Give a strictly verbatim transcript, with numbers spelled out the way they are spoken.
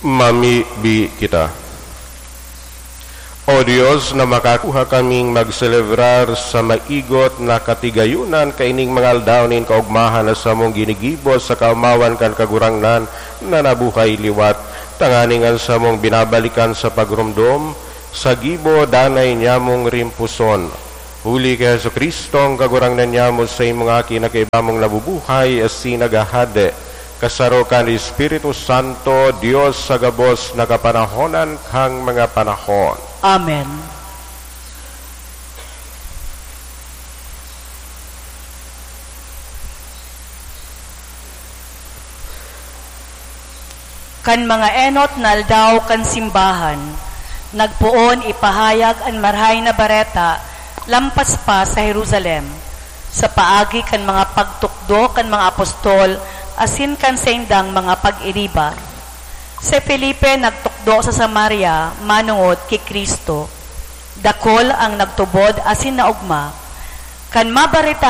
Mamibi kita. O Dios, na makakuha kaming magselebrar sa maigot na katigayunan kaining mga aldaw nin kaogmahan na samong ginigibo sa kaomawan kan Kagurangnan na nabuhay liwat, tanganing an samong binabalikan sa pagromdom sa gibo danay nyamong rimpuson. Huli ki Jesu-Cristo, ang Kagurangnan nyamo, sa imong Aki na kaiba mong nabubuhay asin naghahade, kasaro kan Espiritu Santo, Dios sa gabos na kapanahonan kan mga panahon. Amen. Kan mga enot na aldaw kan simbahan, nagpoon ipahayag an Marahay na Bareta lampas pa sa Jerusalem, sa paagi kan mga pagtukdo kan mga apostol asin kan saindang mga pag-iriba. Si Felipe nagtukdo sa Samaria manongod ki Cristo. Dakul ang nagtubod asin naogma. Kan mabareta